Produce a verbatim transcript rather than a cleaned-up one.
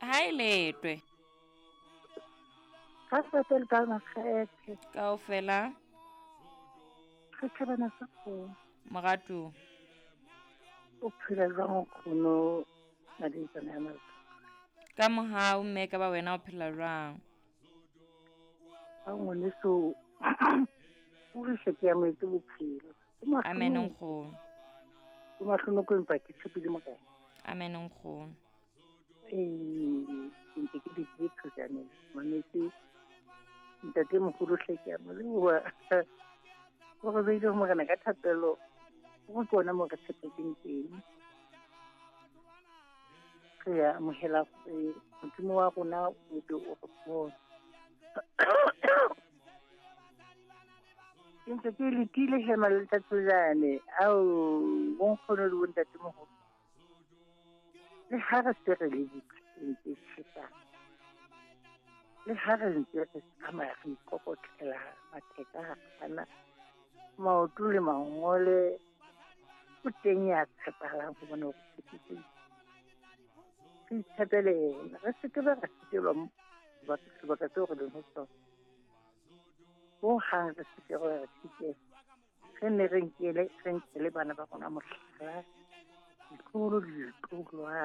Ha e letwe. Ga se le ka makgethe. Kaofela. Re thabana sa kgomo. Moratuwa. O phela jwang nkgono Maditsana ya Malka? Ka mohau mme ka ba wena o phela jwang? Ka ngwaneso o re se ke amohetse bophelo. Amen nkgono. O mahlonoko empa ke tshepile Morena. Amen nkgono. Ee, ke ntse ke dutse thojaneng. Mametse ntate moholo hle ke a mo leboha. O re beile ho Morena ka thapelo. Go ke ona mo re tshepetseng teng. Re a amohela gore Modimo wa rona o be o re bone. Ke ntse ke letile he Maletsatsojane ao bonkgono le bontatemoholo. Le ha re se re le diphateng tse tjhesang, le ha re ntse re tsamaya re ikokotlela matheka a kgana, maoto le mangole, o teng ya tshepahalang ho bona hore tshepisitse. Re itshepele yena, re se ke be ra sitelwa sebaka seo re leng ho sona. Hohang re se ke ra sitelwa. Re nne re nkele, re nkele bana ba rona mohlala, ditloholo le ditloholwana.